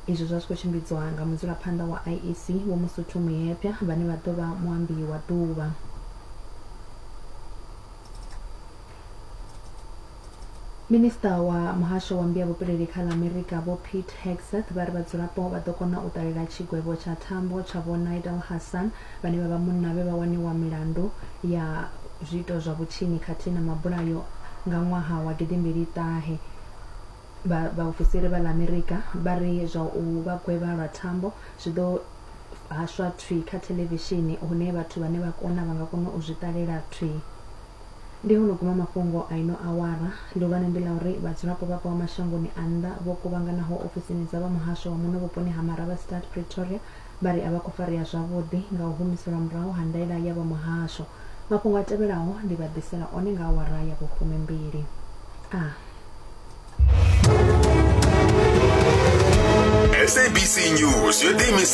Izwi zwa zwi khou tshimbidzwa nga mudzulaphanḓa wa IEC Vho Mosotho Moepya vhane vha ḓo vha muambi wa ḓuvha. Minisiṱa wa muhasho wa mmbi ya vhupileli kha ḽa Amerika Vho Pete Hegseth vha ri vhadzulapo vha ḓo kona u ṱalela tshigwevho tsha thambo tsha Vho Nidal Hasan vhane vha vha munna vhe vha waniwa milandu ya zwiito zwa vhutshinyi khathihi na mabulayo nga ṅwaha wa gidimbili ṱahe. Vha vhaofisiri vha ḽa Amerika vha ri zwa u vha gwevha lwa thambo zwi ḓo hashwa thwii kha thelevishini hune vhathu vhane vha kona vha nga kona u zwi ṱalela thwii. Ndi ho no guma mafhungo a ino awara. Ḽihulwane ndi ḽa uri vhadzulapo vha bvaho mashangoni a nnḓa vho kuvhanganaho ofisini dza vha muhasho wa muno vhuponi ha Marabastad, Pretoria vha ri a vha khou farea zwavhuḓi nga u humiselwa murahu ha ndaela ya vha muhasho. Mafhungo a tevhelaho ndi vha ḓisela one nga awara ya vhufumimbili. A. SABC News yo ḓiimisa.